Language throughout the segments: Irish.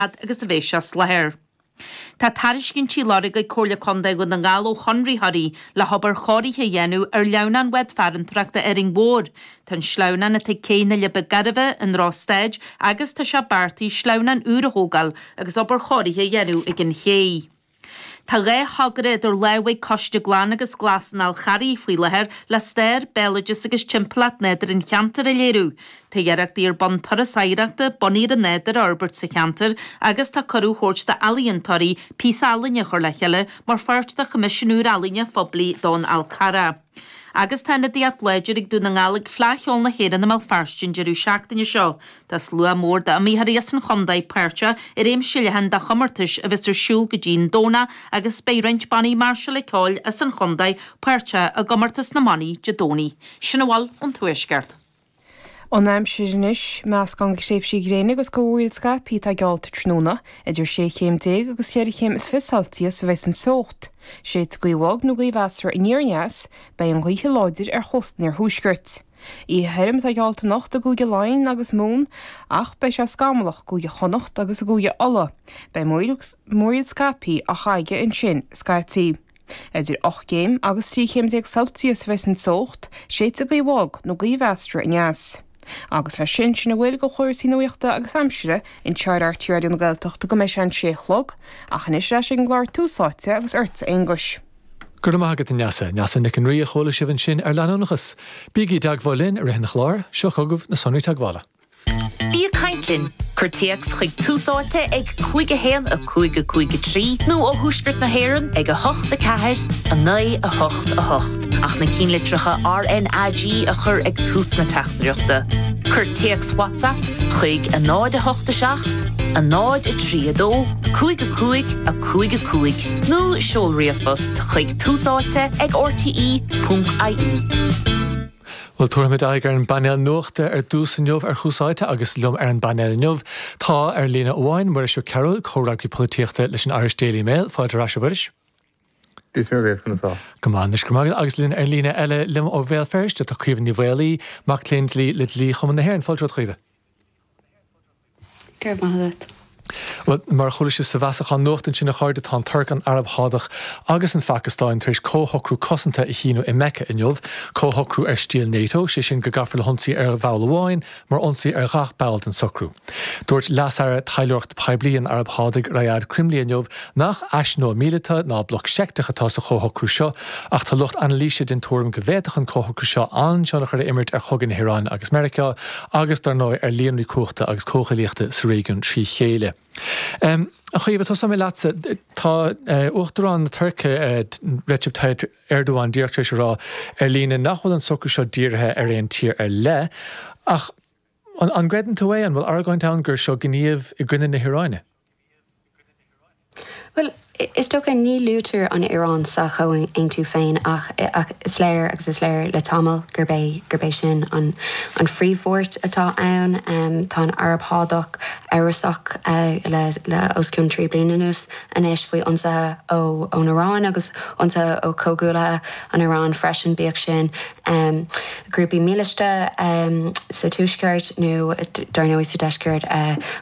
Fhad agus a bheidh sé as láthair. Tá tairiscintí á lorg ag Comhairle Contae Dhún na nGall ó chonraitheoirí le hobair chóirithe a dhéanamh ar shleamhnán Bhád Farantóireachta Árainn Mhór. Tá an sleamhnán atá ag cé na Leaba Gairbhe i ndrochstaid agus tá sé beartaithe sleamhnán úr a thógáil agus obair chóirithe a dhéanamh ag an ché. Tá 2 thogra idir lámha ag Coiste Glan agus Glas an Fháil Charraigh faoi láthair le stair, béaloideas agus timpeallacht nádúrtha an cheantair a léiriú. Tá iarrachtaí ar bun turas oidhreachta bunaithe ar an nádúr a fhorbairt sa cheantar agus tá cuireadh á thabhairt d'ealaíontóirí píosa ealaíne a chur le chéile mar pháirt de choimisiún úr ealaíne phoiblí don Fhál Carrach. Agus tá ionadaíocht láidir ag Dún na nGall ag Fleadh Cheoil na hÉireann i mBéal Feirste an deireadh seachtaine seo. Tá slua mór d'iomaitheoirí as an chontae páirteach i réimse leathan de chomórtais a bheas ar siúl go dtí an Domhnach agus beidh roinnt bannaí máirseála ceoil as an chontae páirteach i gcomórtas na mbannaí Dé Domhnaigh. Sin a bhfuil ón Tuaisceart. An aimsir anois, meascán de thréimhsí gréine agus de mhúraíl scaipthe atá geallta tráthnóna. Idir 16 chéim agus cheithre chéim is fiche Celsius a bheas an teocht. Séidfidh gaoth bhog nó gaoth mheasartha aniar aneas, beidh an ghaoth láidir ar chósta an iarthuaiscirt. Oíche thirim atá geallta anocht i gCúige Laighean agus Mumhan ach beidh sé scamallach i gCúige Chonnacht agus i gCúige Uladh. Beidh múraíl scaipthe á scagadh ansin scaití. Idir 8 gcéim agus 13 chéim Celsius a bheas an teocht, séidfidh gaoth bhog nó gaoth mheasartha aneas. Agus leis sin, sin a bhfuil de chúrsaí nuachta agus aimsire anseo ar RTÉ Raidió na Gaeltachta go mbeidh sé an sé a chlog, ach anois ar ais ag an gclár Tús Áite agus ortsa a Aonghuis. Go raibh maith agat, a Neasa. Neasa Nic an Rí a chuala sibh ansin ar Leanúnachas. Bígí i dteagmháil linn i rith an chláir, seo chugaibh na sonraí teagmhála. Bí ag caint linn! Cuir téacs chuig Tús Áite ag 5 1 5 5 3 nó ó Thuaisceart na hÉireann ag 8 4 9 8 8 ach na cinnlitreacha RnaG a chur ag tús na teachtaireachta. Cuir téacs WhatsApp chuig 0 8 7 0 3 2 5 5 5 5 nó seol ríomhphost chuig túsáite ag rte.ie. Bhuel, tabharfaimid aghaidh ar an bpainéal nuachta ar dtús inniu ar Thús Áite agus liom ar an bpainéal inniu tá, ar líne amháin, Muiris Ó Cearúil, comhfhreagraí polaitíochta leis an Irish Daily Mail. Fáilte ar ais, a Mhuiris. Dia is Muire dhaoibh, conas tá? Go maith anois, go raibh maith agat. Agus linn ar líne eile liom ó Bhéal Feirste tá Caoimhe Ní Mhaolaí, mac léinn dlí le Dlí-Chumann na hÉireann. Fáilte romhat, a Chaoimhe. Go raibh maith agat. Bhuel, mar a chuala sibh sa bhfeasachán nuachta ansin, a chairde, tá an Tuirc, an Araib Shádach agus an Phacastáin tar éis comhshocrú cosanta a shíniú i Mecca inniu. Comhshocrú ar stíl NATO, sé sin go gcaithfear le hionsaí ar bhall amháin mar ionsaí ar ghach ball den socrú. Dúirt Leas-Aire Taidhleoireachta Poiblí an Araib Shádaigh, Rayad Crimli inniu nach ais nua míleata ná bloc seicteach atá sa chomhshocrú seo ach tá lucht anailíse den tuairim go bhféadfadh an comhshocrú seo an-tionchar a imirt ar chogadh na hIaráine agus Meiriceá agus, dar ndóigh, ar líonraí cumhachta agus comhghuaillíochta sa réigiún trí chéile. A Chaoimhe, tosóidh mé leatsa. Tá Uachtarán na Tuirce, Recep Tayyip Erdogan, díreach tar éis a rá ar líne nach bhfuil an socrú seo dírithe ar aon tír ar leith, ach an gcreideann tú é? An bhfuil argóint ann gur seo gníomh i gcoinne na hIaráine? Bhuel, is dócha, ní luaitear an Iaráin sa chomhaontú féin ach ach is léir, agus is léir le tamall, gurb é gurb é sin an an phríomhbhuairt atá ann. Tá an Araib Shádach amhrasach le le os cionn 3 bliana anuas anois faoi ionsaithe ó ón Iaráin agus ionsaithe ó chomhghuaillithe an Iaráin freisin, bíodh sin grúpaí mílíste sa tuaisceart nó dar ndóigh sa deisceart,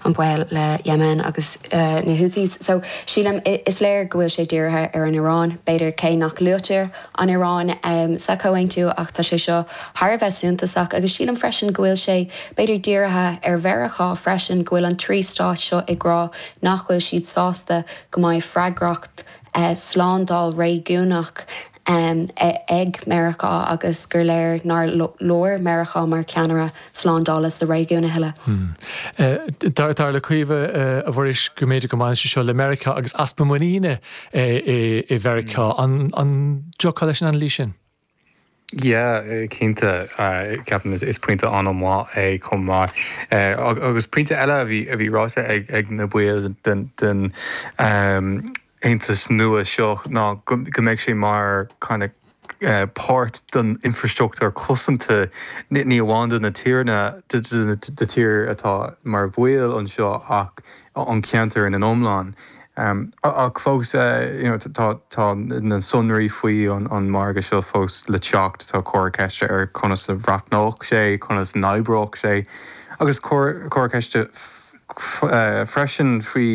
an baol le Yemen agus na Houthis. So sílim, is léir go bhfuil sé dírithe ar an Iaráin, b'fhéidir, cé nach luaitear an Iaráin sa chomhaontú ach tá sé seo thar a bheith suntasach agus sílim freisin go bhfuil sé b'fhéidir dírithe ar Mheiriceá freisin, go bhfuil an trí stát seo ag rá nach bhfuil siad sásta go mbeidh freagracht slándáil réigiúnach ag Meiriceá agus gur léir nár leor Meiriceá mar cheannaire slándála sa réigiún a thuilleadh. Dar le Caoimhe, a Mhuiris, go mb'fhéidir go mbaineann sé seo le Meiriceá agus easpa muiníne i Mheiriceá. An dtiocfá leis an anailís sin? Yeah, cinnte. Ceapaim is pointe an-mhaith é chomh maith. Agus pointe eile a bhí a bhí ráite ag ag na baill den den aontas nua seo ná go go mbeidh sé mar kind of páirt den infrastruchtúr cosanta ní amháin do na tíreanna do na tír atá mar bhaill anseo ach an ceantar ina iomlán. Ach fós, you know, tá tá na sonraí faoi an margadh seo fós le teacht, tá comhartha ceiste ar conas a bhreathnódh sé, conas a n-oibreodh sé, agus comhartha ceiste. freisin faoi.